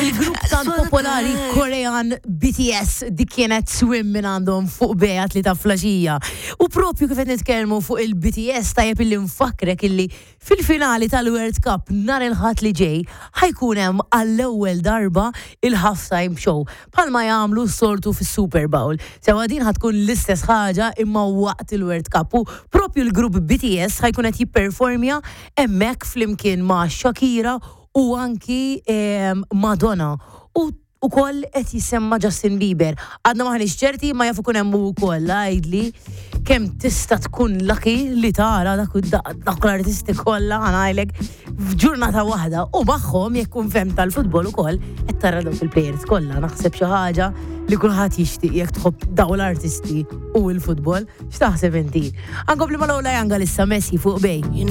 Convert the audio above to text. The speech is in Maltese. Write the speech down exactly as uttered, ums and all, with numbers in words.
Il-grupp tant popolari Korean B T S, dik kienet "Swim" minn għandhom fuq Bay għat-tlieta filgħaxija. U propju kif qed nitkellmu fuq il-B T S, tajjeb illi nfakkrek illi fil-finali tal-World Cup nhar il-Ħadd li ġej ħa jkun hemm għall-ewwel darba il-halftime show bħalma jagħmlu s-soltu fis-Super Bowl. Sewa, din ħa tkun l-istess ħaġa imma waqt il-World Cup u propju l-grupp B T S ħa jkun qed jipperformja hemmhekk flimkien ma' Shakira u anki em, Madonna. U ukoll qed jisemma Justin Bieber. Għadna maħniex ċerti, ma jaf ikun hemm ukoll. Għidli kemm tista' tkun lucky li tara dak dak l-artisti kollha, ħa ngħidlek, f'ġurnata waħda u magħhom, jekk kun fem tal-futbol ukoll, qed tara dawk il-players kollha. Naħseb xi ħaġa li kulħadd jixtieq jekk tħobb dawn l-artisti u l-futbol. X'taħseb inti? Ankompli ma' Lola Janga issa, "Messi" fuq Bay.